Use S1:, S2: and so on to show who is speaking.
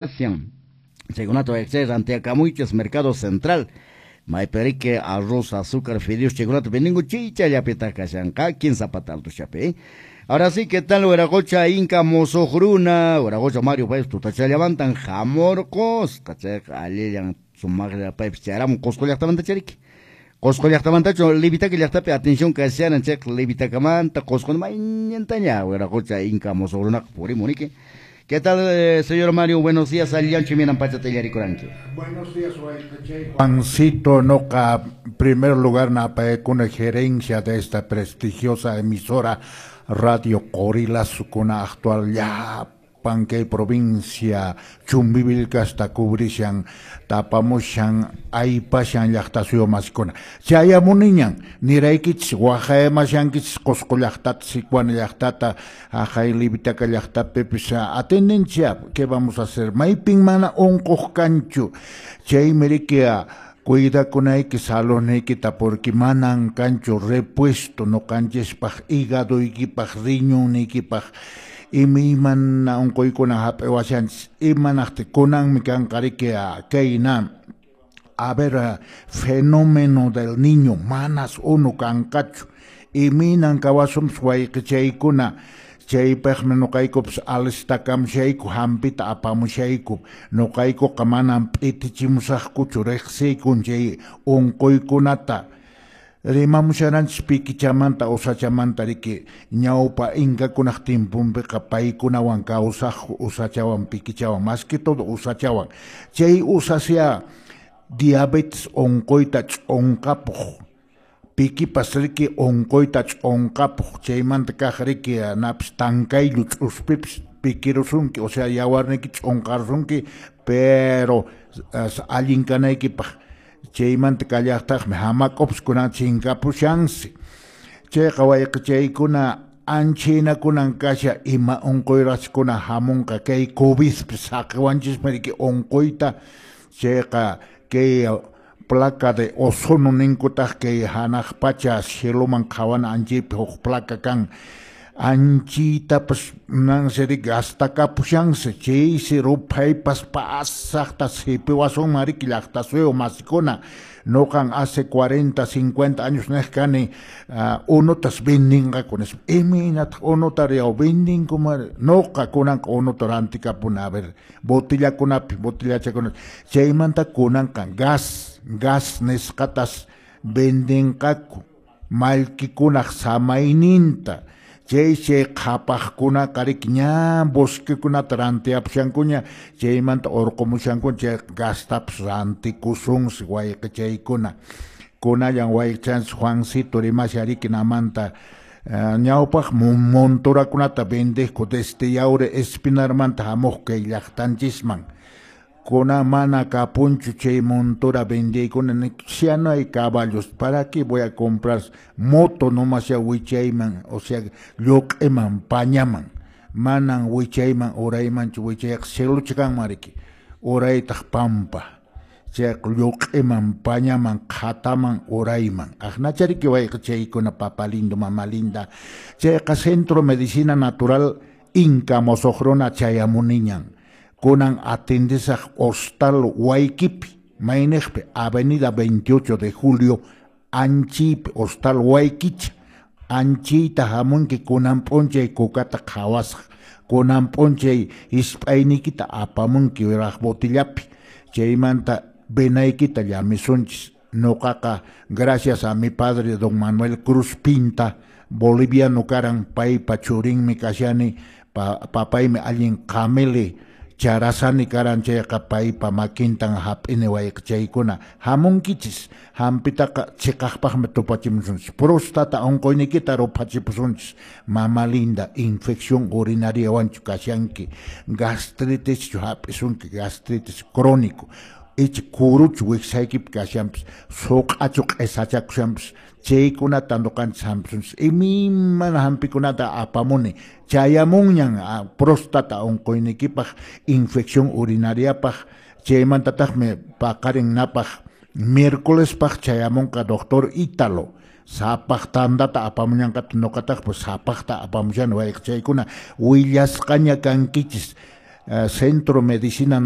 S1: Chaykunata wayqichay rantiyakamuychis Mercado Central. Maypiriki arroz, azúcar, fideos chaykunata vendinku chaychallapitaq kashanqa 15 pata altushapi. Ahora sí, ¿qué tal? Huiracocha Inca musuq runa, Huiracocha Mario paypas tutachallamantan hamurqusqa, chayqa allillan sumaqlla paypas chayaramun Qusqu llaqtamanta chariki. Qusqu llaqtamantachu Livitaca llaqtapi atención kasharan chayqa Livitacamanta Qusqu maynintaña Huiracocha Inca musuq runaqa purimuniki. ¿Qué tal, señor Mario? Buenos días, allillanchu minan pachata illarikuranki.
S2: Buenos días, Juancito. Noqa, primer lugar, napayakuna gerencia de esta prestigiosa emisora Radio Qorillasukuna actual llapan kay provincia Chumbivilcasta cubrishan, tapamushan, aypashan llaqta masikuna. Chayamuniñan, niraykichis, waqayamashankichis Qusqu llaqtata, Sicuana llaqtata, haqay Livitaca llaqtapipis atendencia, ¿qué vamos a hacer? Maypin mana unquq kanchu, chaymi riki cuidakunayki saludniykita porque manan kanchu repuesto ñuqanchispaq hígadoykipaq riñonniykipaq imaymana unquykuna hap'iwashanchis imanaqti kunanmi kanqa riki kayna a ver fenómeno del niño manas unu kanqachu imaynan kawasunpis wayqichaykuna chaypaqmi ñuqaykupas alistakamushayku hampita apamushayku ñuqaykuqa manam p'itichimusaqkuchu riqsiykun chay unquykunata rimamusharanchis pikichamanta usachamanta riki ñawpa inkakunaq timpunpiqa paykunawan kawsaqku usachawan pikichawan más que todo usachawan chay usasya diabetes unquyta ch'unqapuq pikipas riki unquyta ch'unqapuq chaymanta kaq riki napis tankayllu ch'uspipis pikirusunki o sea yawarniyki ch'unqarusunki pero allin kanaykipaq chaymanta kallaqtaqmi hamak'upis kunan chinkapushansi chayqa wayqichaykuna anchaynakunan kasha ima unquyraqchikuna hamunqa kay covidpis saqiwanchismi riki unquyta chayqa kay placa de ozono ninkutaq kay hanaq pacha cieloman qhawana anchaypi huk placa kan anchitapas nansi riki gastakapushansi chaysi ruphaypas pasaqta sipiwasunman riki llaqta suyu masikuna ñuqan hace 40, 50 años niq kani unutas vendinqaku nispa imaynataq unuta riyaw vendinkuman ñuqa kunanqa unuta rantikapuni a ver botillakunapi botillachakunapi chaymanta kunanqa gas nisqatas vendinqaku mallkikunaq samayninta chay chay qhapaqkunaqa riki ña bosquekunata rantiyapushankuña chaymanta urqumushankuña chay gastapas rantikusunsi wayqichaykuna kunallan wayqichanchis Juancito rimashan riki namanta ñawpaq monturakunata vendeqku desde Yauri Espinarmanta hamuq kay llaqtanchisman kuna mana kapunchu chay montura vendeykuna ya no hay caballos, ¿para qué voy a comprar moto nomás ya wichayman, o sea lluq'iman pañaman manan wichayman uraymanchu wichayqa cielocha kanman riki uraytaq pampa chayqa lluq'iman pañaman qhataman urayman aqnacha riki wayqichaykuna papa lindo mama linda chayqa Centro Medicina Natural Inca musuq runa chayamuniñan kunan atendesaq Hostal Huayquipi mayniqpi Avenida 28 de Julio anchiypi Hostal Huayquicha anchiyta hamunki kunan p'unchay kukata qhawasaq kunan p'unchay hisp'ayniykita apamunki wiraq botillapi chaymanta venaykita llamisunchis ñuqaqa gracias a mi padre don Manuel Cruz Pinta boliviano karan paypa churinmi kashani papaymi allin qamili charasani karan chayqa paypa makintan hap'ini wayqichaykuna hamunkichis hampitaqa chiqaqpaqmi tupachimusunchis próstata unquyniykita ruphachipusunchis mama linda infección urinariawanchu kashanki gastritischu hap'isunki gastritis crónico icha kuruchu wiksaykipi kashanpis suq'achu q'isachakushanpis chaykunata ñuqanchis hampisunchis imaymana hampikunata apamuni chayamunñan próstata unquyniykipaq infección urinariapaq chaymantataqmi paqarin napaq miércolespaq chayamunqa doctor Ítalo sapaq tantata apamuñanqata ñuqataqpas sapaqta apamushani wayqichaykuna willasqaña kankichis Centro Medicina.